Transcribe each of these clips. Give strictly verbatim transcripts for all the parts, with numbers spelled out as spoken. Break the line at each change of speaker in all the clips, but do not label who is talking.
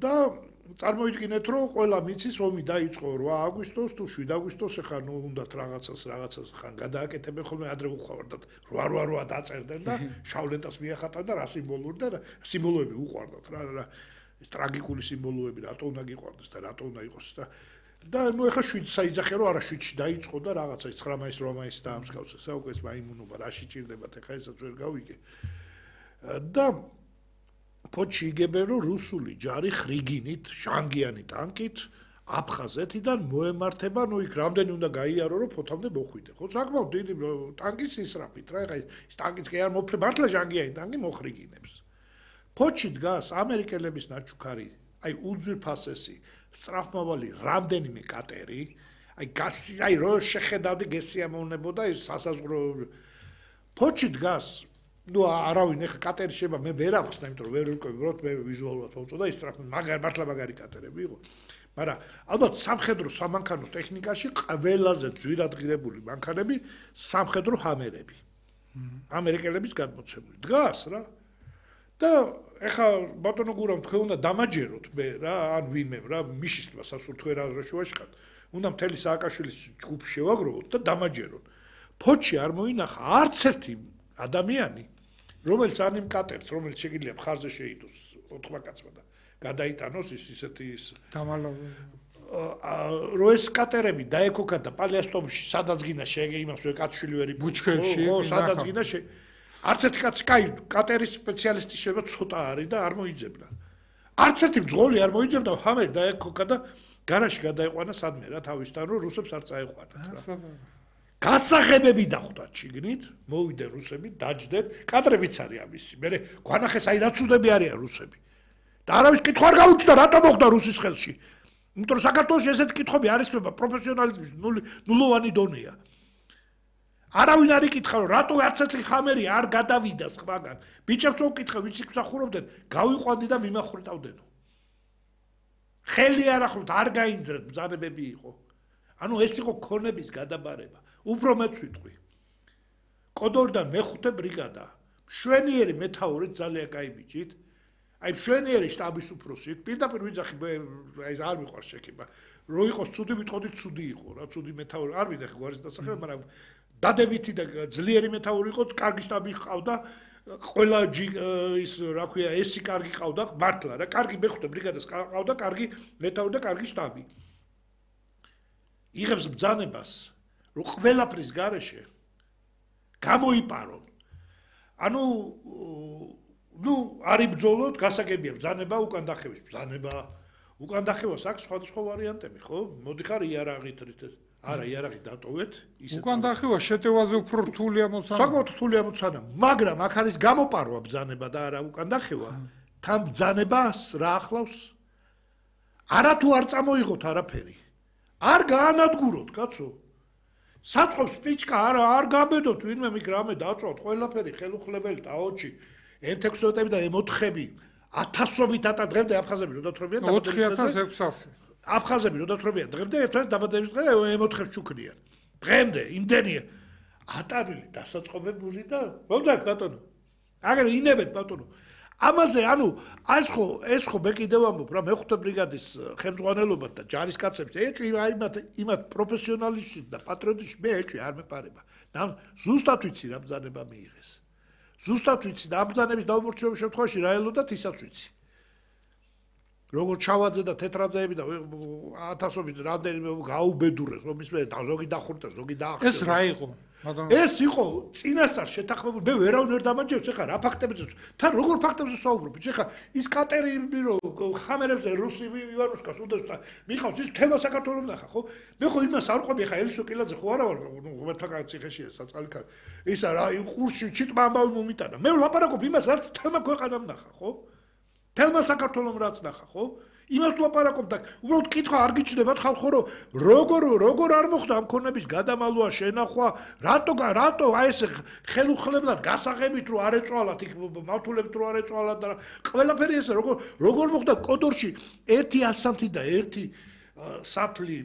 და წარმოიდგინეთ, რომ ყველა მიცის ომი დაიწყო რვა აგვისტოს თუ შვიდ აგვისტოს, ეხლა ნუ უნდათ რაღაცას რაღაცას ხან გადააკეთებენ ხოლმე, ადრე უყვარდათ რვა რვა რვა დაწერდნენ და შავლენტას მიახატავდნენ და რა სიმბოლური და სიმბოლოები უყვარდათ რა რა ტრაგიკული სიმბოლოები რატო უნდა გიყვარდეს და რატო უნდა იყოს და და ნუ ეხლა შვიდს საიძახე რომ არა შვიდში დაიწყო და რაღაცა ის ცხრა მაისს რვა მაისს დაამსგავსეს, უკვე ეს მაიმუნობა რაში ჭირდებათ, ეხლა ესაც ვერ გავიგე. და ფოჩი იგებენ რომ რუსული ჯარი ხრიგინით, ჟანგიანი ტანკით აფხაზეთიდან მოემართება, ნუ იქ რამდენი უნდა გაიარო რომ ფოთამდე მოხვიდე. ხო, საკმაოდ დიდი ტანკის ისრაფით რა, ეხლა ის ტანკიც კი არ მოფლე, მართლა ჟანგიანი ტანკი მოხრიგინებს. ფოჩი დგას ამერიკელების ნაჩუქარი, აი უძვირფასესი, სწრაფმავალი რამდენიმე კატერი, აი გასი, აი რო შეხედავდი გესიამოვნებოდა ის სასაზღვრო. ფოჩი დგას ნუ არავინ ეხა კატერი შეება მე ვერ ახსნა, იმიტომ რომ ვერ ვიკები, რომ მე ვიზუალურად მომწოდა ის სწრაფ მაგარი მართლა მაგარი კატერები იყო. მაგრამ ალბათ სამხედრო სამანქანო ტექნიკაში ყველაზე ძვირადღირებული მანქანები სამხედრო ჰამერები. ამერიკელების გადმოცემული დგას რა. და ეხა ბატონო გურამ თქვენ უნდა დამაჯეროთ მე რა, ან ვინმე რა, მიშისმა სასურთვერა რა შუაშკათ. უნდა მთელი სააკაშვილის ჯგუფი შევაგროვოთ და დამაჯეროთ. ფოჩი არ მოინახა არც ერთი ადამიანი, რომელიც ან იმ კატერს, რომელიც შეგიძლია მხარზე შეიდოს ოთხმა კაცმა და გადაიტანოს ის ისეთი ის
დამალავი.
რო ეს კატერები დაეკოქა და პალიასტომში სადაც გინდა შეგე იმას ვერ კაცშვილი ვერ
ბუჩქებში,
ხო, სადაც გინდა შე არც ერთი კაცი, კაი, კატერის სპეციალისტი შეება ცოტა არის და არ მოიძებნა. არც ერთი მძღოლი არ მოიძებნა, ჰამერი დაეკოქა და გარაში გადაეყვანა სადმე რა თავისთან, რომ რუსებს არ წაეყვანათ რა. გასაღებები დახვდათ შიგნით, მოვიდნენ რუსები, დაჯდნენ, კადრებიც არის ამისი. მე გვანახეს აი რა ცუდები არიან რუსები. და არავის კითხვა არ გაუჩნდა, რატო მოხდა რუსის ხელში. იმიტომ რომ საქართველოში ესეთი კითხვები არის ვება პროფესიონალიზმის ნულოვანი დონეა. არავინ არ იკითხა, რომ რატო არც ერთი ხამერი არ გადავიდა სხვაგან. ბიჭებს უკითხე, ვინც იქ მსახურობდნენ, გავიყვანდი და მიმახრიტავდენო. ხელი არ ახლოთ, არ გაინძრეთ, ბრძანებები იყო. ანუ ეს იყო ქონების გადაბარება. უფრო მეც ვიტყვი. კოდორიდან მეხუთე ბრიგადა, მშვენიერი მეთაურით ძალიან კაი ბიჭით. აი მშვენიერი შტაბის უფროსი, პირდაპირ ვიძახი, აი არ მიყვარს შექება. რო იყოს ცუდი, ვიტყოდი ცუდი იყო რა, ცუდი მეთაური. არ მინდა გვარის დასახელება, მაგრამ დადებითი და ძლიერი მეთაური იყო, კარგი შტაბი ჰყავდა, ყველა ის რა ქვია, ესი კარგი ჰყავდა, მართლა რა, კარგი მეხუთე ბრიგადას ჰყავდა, კარგი მეთაური და კარგი შტაბი. იღებს ბრძანებას, რომ ყველაფრის გარეშე გამოიპარონ. ანუ ნუ არის ბრძოლოთ, გასაგებია ბრძანება, უკან დახევის ბრძანება. უკან დახევას აქვს სხვადასხვა ვარიანტები, ხო? მოდიხარ იარაღით რით არა, იარაღი დატოვეთ, ისე
უკან დახევა შეტევაზე უფრო რთულია მოცანა.
საკმაოდ რთულია მოცანა, მაგრამ აქ არის გამოპარვა ბრძანება და არა უკან დახევა. თან ბრძანებას რა ახლავს? არათუ არ წამოიღოთ არაფერი. არ გაანადგუროთ, კაცო. საწყობს პიჩკა არ არ გაბედოთ, ვინმე მიგ რამე დაწვათ, ყველაფერი ხელუხლებელი და აოჩი, ემ ექვსი და ემ ოთხი ათასობით ატა დღემდე აფხაზები რო დათრობიან
ოთხი ათას ექვსასი.
აფხაზები რო დათრობიან დღემდე ერთად დაბადების დღე ემ ოთხს ჩუქნიან. დღემდე იმდენია ატარილი დასაწყობებული და მომძაკ ბატონო. აგერ ინებეთ ბატონო. ამაზე ანუ ეს ხო ეს ხო მე კიდევ ამბობ რა მეხუთე ბრიგადის ხელმძღვანელობა და ჯარისკაცებს ეჭვი აიმათ იმათ პროფესიონალისტი და პატრიოტი მე ეჭვი არ მეპარება. და ზუსტად ვიცი რა ბრძანება მიიღეს. ზუსტად ვიცი და ამ ბრძანების დაუმორჩილების შემთხვევაში რა ელოდათ ისაც ვიცი. როგორც ჩავაძე და თეთრაძეები და ათასობით რამდენიმე გაუბედურეს რომ ის მე ზოგი დახურდა ზოგი დაახტა.
ეს რა იყო?
ეს იყო წინასწარ შეთანხმებული. მე ვერავინ ვერ დამაჯერებს, ეხლა რა ფაქტებზე თან როგორ ფაქტებზე საუბრობთ? ეხლა ის კატერი რო ხამერებზე რუსი ივანუშკას უდევს და მიხავს ის თემა საქართველოს ნახა, ხო? მე ხო იმას არ ყვები, ეხლა ელისო კილაძე ხო არა ვარ, ნუ ღმერთთაგან ციხეშია საწყალი კაცი. ისა რა ყურში ჩიტმა ამბავი მომიტანა. მე ვლაპარაკობ იმას, რაც თემა ქვეყანამ ნახა, ხო? თემა საქართველოს რაც ნახა, ხო? იმას ვლაპარაკობ და უბრალოდ კითხვა არ გიჩნდებათ ხალხო რომ როგორ როგორ არ მოხდა ამ ქონების გადამალვა შენახვა რატო რატო აი ეს ხელუხლებლად გასაღებით რო არ ეწვალათ იქ მავთულებით რო არ ეწვალათ და ყველაფერი ესე როგორ როგორ მოხდა კოდორში ერთი ასანთი და ერთი საფლი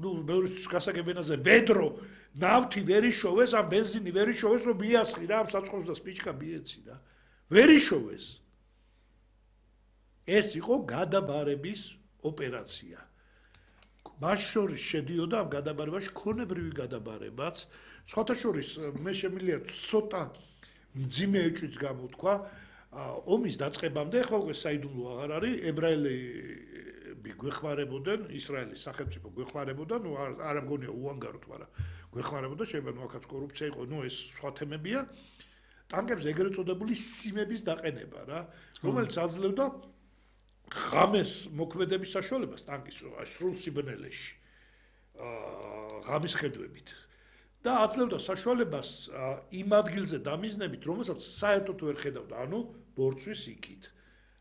ნუ მეურის გასაგებენაზე ბედრო ნავთი ვერ იშოვეს ამ ბენზინი ვერ იშოვეს რომ მიასხი რა ამ საწყობს და სპიჩკა მიეცი რა ვერ იშოვეს ეს იყო გადაბარების ოპერაცია. მას შორის შედიოდა ამ გადაბარებაში ქონებრივი გადაბარებაც. სხვათა შორის მე შემიძლია ცოტა მძიმე ეჭვიც გამოთქვა ომის დაწყებამდე, ხო ეს საიდუმლო აღარ არის, ებრაელები გვეხმარებოდნენ, ისრაელის სახელმწიფო გვეხმარებოდა, ნუ არ მგონია უანგაროდ, მაგრამ გვეხმარებოდა, შეიძლება ნუ აქაც კორუფცია იყო, ნუ ეს სხვა თემებია. ტანკებზე ეგრეთ წოდებული სიმების დაყენება რა, რომელიც აძლევდა ღამეს მოქმედების საშუალებას ტანკის სრულ სიბნელეში. აა ღამის ხედვებით. და აძლევდა საშუალებას იმ ადგილზე დამიზნებით, რომელსაც საერთოდ ვერ ხედავდა, ანუ ბორცვის იქით.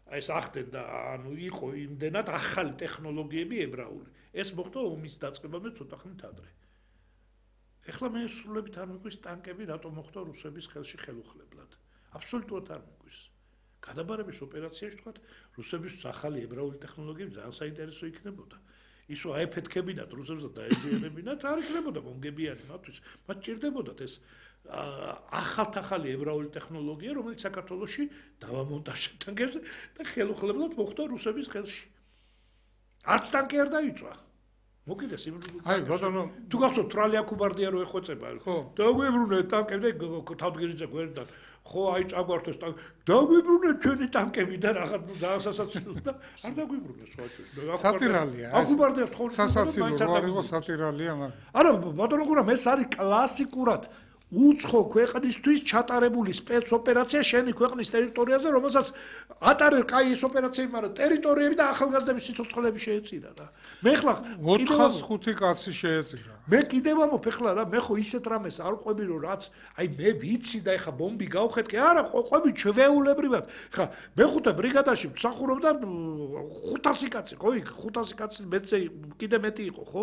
აი ეს ახდენდა, ანუ იყო იმდენად ახალი ტექნოლოგიები ებრაული. ეს მოხდა ომის დაწყებამდე ცოტა ხნით ადრე. ეხლა მე სრულებით არ მიგვის ტანკები რატომ მოხდა რუსების ხელში ხელუხლებლად. აბსოლუტურად არ მიგვის. გადაბარების ოპერაციაში თქვა რუსების ახალი ებრაული ტექნოლოგიები ძალიან საინტერესო იქნებოდა. ისო აეფეთქებინათ რუსებს და დაეზიანებინათ, არ იქნებოდა მომგებიანი მათთვის. მათ ჭირდებოდათ ეს ახალ-ახალი ებრაული ტექნოლოგია, რომელიც საქართველოში დავამონტაჟა ტანკებზე და ხელუხლებლად მოხდა რუსების ხელში. არც ტანკი არ დაიწვა. მოკიდეს იმ
აი ბატონო
თუ გახსოვთ თრალი აკუბარდია რო ეხვეწება. დაგვიბრუნე ტანკები და თავდგირიძე გვერდიდან. ხო აი წაგვართეს ტანკი. დაგვიბრუნე ჩვენი ტანკები და რაღაც ძალიან სასაცილო და არ დაგვიბრუნე სხვა ჩვენ.
სატირალია.
აკუბარდიას თხოვნა
სასაცილო არ იყო სატირალია მაგრამ.
არა ბატონო გურამ ეს არის კლასიკურად უცხო ქვეყნისთვის ჩატარებული სპეცოპერაცია შენი ქვეყნის ტერიტორიაზე, რომელსაც ატარებ კაი ეს ოპერაციები, მაგრამ ტერიტორიები და ახალგაზრდების სიცოცხლეები შეეწირა რა. მე ხლა
ოთხას ხუთი კაცი შეეწირა.
მე კიდევ ამოფ ეხლა რა, მე ხო ისეთ რამეს არ ყვები რომ რაც, აი მე ვიცი და ეხლა ბომბი გავხეთკე, არა ყვები ჩვეულებრივად. ხა მეხუთე ბრიგადაში მსახურობდა ხუთასი კაცი, ხო იქ ხუთასი კაცი მეცე კიდე მეტი იყო, ხო?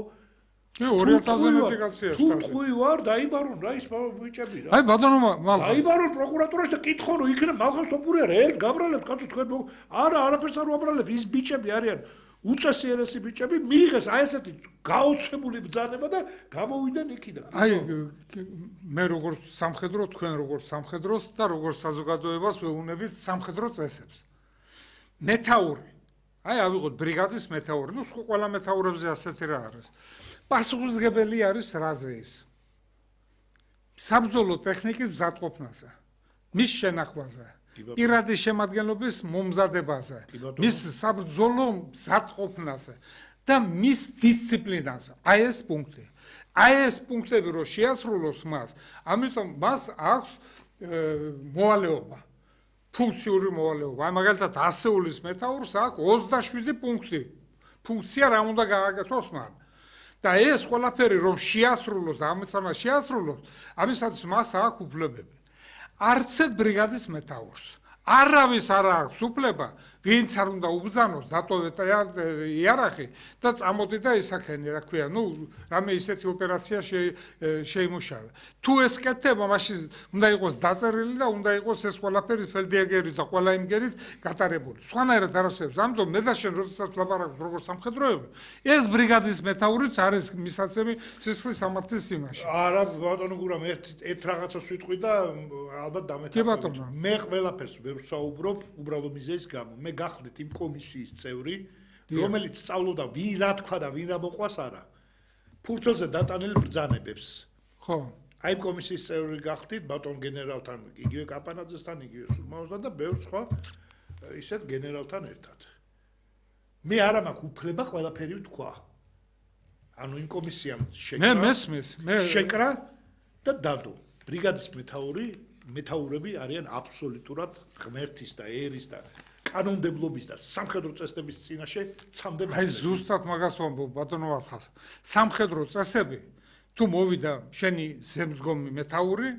კი ორი ათასზე მეტი კაცია.
თუ წვი ვარ, დაიბარონ რა ის ბიჭები რა.
აი ბატონო მალხა.
დაიბარონ პროკურატურაში და კითხო რომ იქნებ მალხას თოპური არა, ერთ გაბრალებ კაცო თქვენ არა, არაფერს არ ვაბრალებ, ის ბიჭები არიან უწესიერესი ბიჭები, მიიღეს აი ესეთი გაოცებული ბრძანება და გამოვიდნენ იქიდან.
აი მე როგორც სამხედრო, თქვენ როგორც სამხედროს და როგორც საზოგადოებას ვეუბნებით სამხედრო წესებს. მეთაური. აი ავიღოთ ბრიგადის მეთაური, ნუ ყველა მეთაურებზე ასეთი რა არის. პასუხისმგებელი არის რაზე ის. საბრძოლო ტექნიკის მზადყოფნაზე, მის შენახვაზე, პირადი შემადგენლობის მომზადებაზე, მის საბრძოლო მზადყოფნაზე და მის დისციპლინაზე. აი ეს პუნქტი. აი ეს პუნქტები რო შეასრულოს მას, ამიტომ მას აქვს მოვალეობა. ფუნქციური მოვალეობა. აი მაგალითად ასეულის მეთაურს აქვს ოცდაშვიდი პუნქტი. ფუნქცია რა უნდა გააკეთოს მან. და ეს ყველაფერი რომ შეასრულოს, ამისამა შეასრულოს, ამისაც მას აქვს უფლებები. არც ერთ ბრიგადის მეთაურს არავის არ აქვს უფლება, ვინც არ უნდა უბრძანოს, დატოვეთ იარაღი და წამოდი და ისაქენი, რა ქვია, ნუ რამე ისეთი ოპერაცია შეიმუშავა. თუ ეს კეთდება, მაშინ უნდა იყოს დაწერილი და უნდა იყოს ეს ყველაფერი ფელდიაგერით და ყველა იმგერით გატარებული. სხვანაირად არ არსებობს. ამიტომ მე და შენ როდესაც ვლაპარაკობ როგორც სამხედროები, ეს ბრიგადის მეთაურიც არის მისაცემი სისხლის სამართლის იმაში.
არა, ბატონო გურამ, ერთ ერთ რაღაცას ვიტყვი და ალბათ დამეთანხმებით. მე ყველაფერს ვერ ვსაუბრობ, უბრალოდ მიზეზის გამო. მე გახდით იმ კომისიის წევრი, რომელიც სწავლობდა ვინ რა თქვა და ვინ რა მოყვას არა. ფურცოზე დატანილი ბრძანებებს.
ხო.
აი კომისიის წევრი გახდით ბატონ გენერალთან, იგივე კაპანაძესთან, იგივე სულმაოსთან და ბევრ სხვა ისეთ გენერალთან ერთად. მე არა მაქვს უფლება ყველაფერი ვთქვა. ანუ იმ კომისიამ შეკრა.
მე მესმის, მე
შეკრა და დადო. ბრიგადის მეთაური, მეთაურები არიან აბსოლუტურად ღმერთის და ერის და კანონმდებლობის და სამხედრო წესების წინაშე ცამდები.
აი ზუსტად მაგას ვამბობ ბატონო ახალ. სამხედრო წესები თუ მოვიდა შენი ზემდგომი მეთაური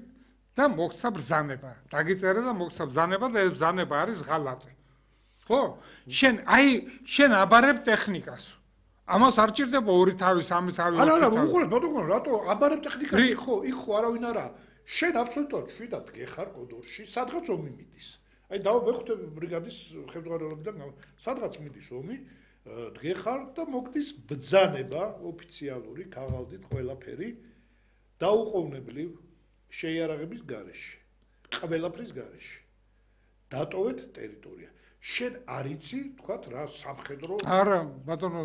და მოგცა ბრძანება. დაგიწერე და მოგცა ბრძანება და ეს ბრძანება არის ღალატი. ხო? შენ აი შენ აბარებ ტექნიკას. ამას არ ჭირდება ორი თავი, სამი თავი.
არა, არა, უყურებ, ბატონო, რატო აბარებ ტექნიკას? იქ ხო, იქ ხო არავინ არა. შენ აბსოლუტურად შვიდად გეხარ კოდორში, სადღაც ომი მიდის. აი დავაბეხოთ ბრიგადის ხელმძღვანელობიდან, სადღაც მიდის ომი, დგეხარ და მოგდის ბრძანება ოფიციალური, ქაღალდით ყველაფერი დაუყოვნებლივ შეიარაღების გარეშე, ყველაფრის გარეშე. დატოვეთ ტერიტორია. შენ არიცი, თქვათ რა სამხედრო
არა, ბატონო,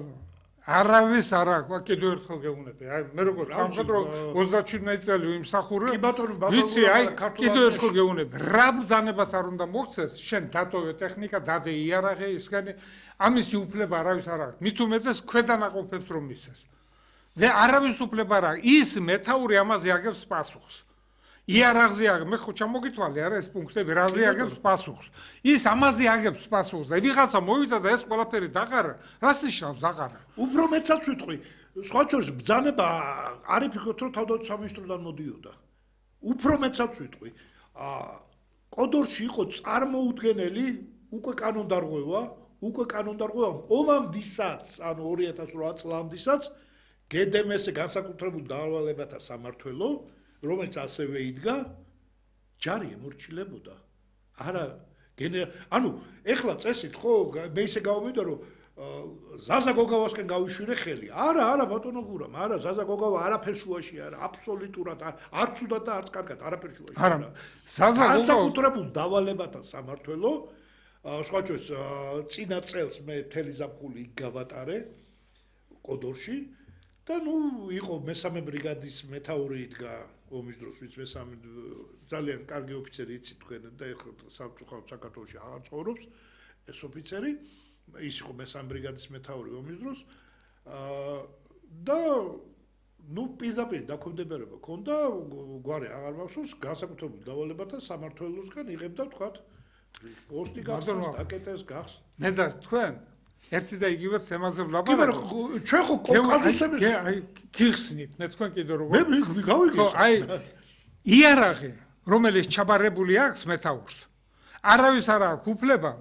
არავის არა აქვს, კიდევ ერთხელ გეუბნები. აი, მე როგორ სამხედრო ოცდაშვიდი წელი ვიმსახურე.
კი ბატონო, ბატონო,
ვიცი, აი, კიდევ ერთხელ გეუბნები. რა ბრძანებას არ უნდა მოხდეს, შენ დატოვე ტექნიკა, დადე იარაღი, ისგანი ამისი უფლება არავის არ აქვს. მით უმეტეს ქვედანაყოფებს რომ მისცეს. და არავის უფლება არ აქვს. ის მეთაური ამაზე აგებს პასუხს. იარაღზე აგებს, მე ხო ჩამოგითვალე არა ეს პუნქტები, რაზე აგებს პასუხს. ის ამაზე აგებს პასუხს და ვიღაცა მოვიდა და ეს ყველაფერი დაყარა, რას ნიშნავს დაყარა?
უფრო მეცაც ვიტყვი, სხვა შორის ბრძანება არ იფიქროთ რომ თავდაცვის სამინისტროდან მოდიოდა. უფრო მეცაც ვიტყვი, აა კოდორში იყო წარმოუდგენელი უკვე კანონდარღვევა, უკვე კანონდარღვევა ომამდისაც, ანუ ორი ათას ოთხ წლამდისაც გედემესე განსაკუთრებულ დავალებათა სამმართველო რომელიც ასევე იდგა ჯარი ემორჩილებოდა არა გენერალ ანუ ეხლა წესით ხო მე ისე გავმედა რომ ზაზა გოგავასკენ გავიშვირე ხელი არა არა ბატონო გურამ არა ზაზა გოგავა არაფერ შუაში არა აბსოლუტურად არც უდად და არც კარგად არაფერ შუაში
არა ზაზა გოგავა
განსაკუთრებულ დავალებათა სამმართველო სხვა შორის წინა წელს მე მთელი ზაფხული გავატარე კოდორში და ნუ იყო მესამე ბრიგადის მეთაური იდგა ომის დროს ვინც მესამე ძალიან კარგი ოფიცერი იცით თქვენ და ეხლა სამწუხაროდ საქართველოში აღარ ცხოვრობს ეს ოფიცერი ის იყო მესამე ბრიგადის მეთაური ომის დროს და ნუ პირდაპირ დაქვემდებარება ქონდა გვარი აღარ მახსოვს განსაკუთრებულ დავალებათა სამმართველოსგან იღებდა თქვათ პოსტი გახსნას დაკეტეს გახს
მე და თქვენ ერთი და იგივე თემაზე ვლაპარაკობთ.
კი, ჩვენ ხო კავკასიუსების
აი გიხსნით, მე თქვენ კიდე როგორ
მე გავიგეს.
აი იარაღი, რომელიც ჩაბარებული აქვს მეთაურს. არავის არ აქვს უფლება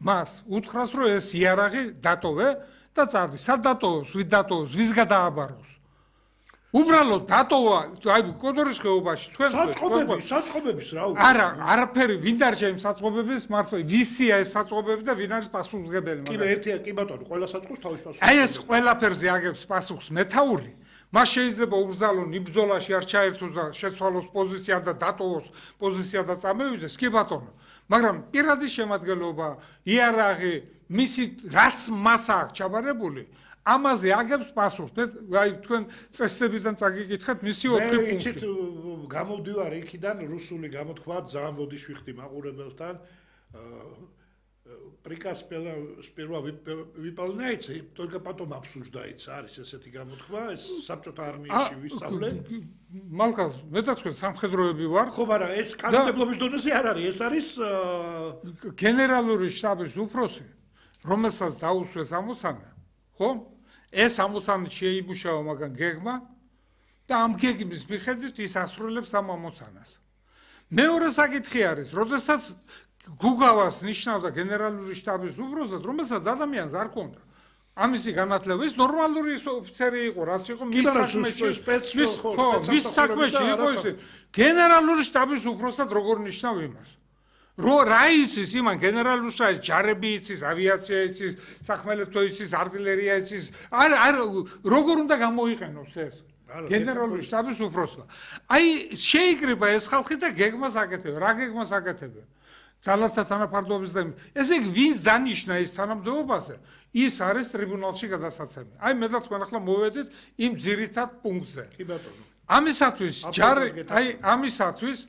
მას უთხრას, რომ ეს იარაღი დატოვე და წადი. სად დატოვოს, ვით დატოვოს, ვის გადააბაროს. უბრალოდ დატოვა, აი კოდორის ხეობაში თქვენ
საწყობები, საწყობების რა
უკვე. არა, არაფერი ვინ დარჩა იმ საწყობების მართლა ვისია ეს საწყობები და ვინ არის პასუხისმგებელი
მაგრამ. კი, ერთია, კი ბატონო, ყველა საწყობს თავის პასუხს.
აი ეს ყველაფერზე აგებს პასუხს მეთაური. მას შეიძლება უბრძალონ იბრძოლაში არ ჩაერთოს და შეცვალოს პოზიცია და დატოვოს პოზიცია და წამევიდეს, კი ბატონო. მაგრამ პირადი შემადგენლობა, იარაღი, მისი რას მას აქვს ჩაბარებული ამაზე აგებს პასუხს. აი თქვენ წესდებიდან წაგიკითხეთ მისი ოთხი პუნქტი.
მე იცით გამოვდივარ იქიდან რუსული გამოთქვა ძალიან ბოდიში ვიხდი მაყურებელთან. Приказ сперва выполняется, только потом обсуждается. არის ესეთი გამოთქვა, ეს საბჭოთა არმიაში ვისწავლე.
მალხას, მე და თქვენ სამხედროები ვარ.
ხო, მაგრამ ეს კანონმდებლობის დონეზე არ არის, ეს არის
გენერალური შტაბის უფროსი, რომელსაც დაუსვეს ამოცანა. ხო? ეს ამოცანა შეიმუშავა მაგან გეგმა და ამ გეგმის მიხედვით ის ასრულებს ამ ამოცანას. მეორე საკითხი არის, როდესაც გუგავას ნიშნავდა გენერალური შტაბის უფროსად, რომელსაც ადამიანს არ ჰქონდა. ამისი განათლება ის ნორმალური ოფიცერი იყო, რაც იყო მის საქმეში, მის საქმეში იყო ის გენერალური შტაბის უფროსად როგორ ნიშნავ იმას. რო რა იცის იმან გენერალური შტაბის ჯარები იცის, ავიაცია იცის, სახმელეთო იცის, артиლერია იცის, არ არ როგორ უნდა გამოიყენოს ეს გენერალური შტაბის უფროსმა. აი შეიკრიბა ეს ხალხი და გეგმას აკეთებდა. რა გეგმას აკეთებდა? ძალათა თანაფარდობის და ესე იგი ვინც დანიშნა ის თანამდებობაზე, ის არის ტრიბუნალში გადასაცემი. აი მე და თქვენ ახლა მოვედით იმ ძირითად პუნქტზე.
კი ბატონო.
ამისათვის ჯარი, აი ამისათვის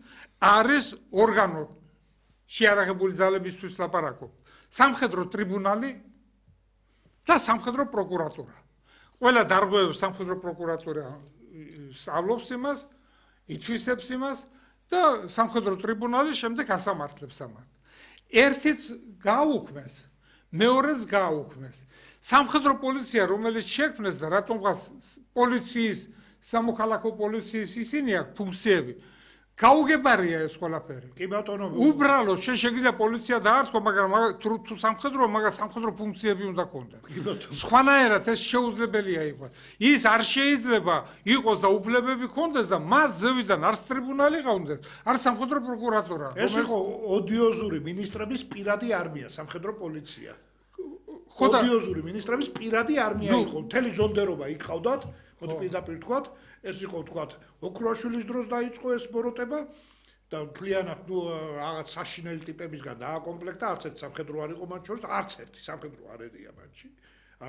არის ორგანო შეარაღებული ძალებისთვის ლაპარაკობ. სამხედრო ტრიბუნალი და სამხედრო პროკურატურა. ყველა დარღვევებს სამხედრო პროკურატურა სწავლობს იმას, ითვისებს იმას და სამხედრო ტრიბუნალი შემდეგ ასამართლებს ამას. ერთიც გააუქმეს, მეორეც გააუქმეს. სამხედრო პოლიცია, რომელიც შექმნეს და რატომღაც პოლიციის, სამოქალაქო პოლიციის ისინი აქვს ფუნქციები, გაუგებარია ეს ყველაფერი.
კი ბატონო.
უბრალოდ შეიძლება პოლიცია დაარსო, მაგრამ თუ სამხედრო, მაგრამ სამხედრო ფუნქციები უნდა ქონდეს.
კი ბატონო.
სხვანაირად ეს შეუძლებელია იყოს. ის არ შეიძლება იყოს და უფლებები ქონდეს და მას ზევიდან არც ტრიბუნალი ყავდეს, არც სამხედრო პროკურატურა.
ეს იყო ოდიოზური ministrების პირადი არმია, სამხედრო პოლიცია.
ხოდა
ოდიოზური ministrების პირადი არმია იყო. მთელი ზონდერობა იქ ყავდათ, მოდი პირდაპირ ვთქვათ, ეს იყო ვთქვათ, ოქროაშვილის დროს დაიწყო ეს ბოროტება და მთლიანად ნუ რაღაც საშინელი ტიპებისგან დააკომპლექტა, არც ერთი სამხედრო არ იყო მათ შორის, არც ერთი სამხედრო არ ერია მათში.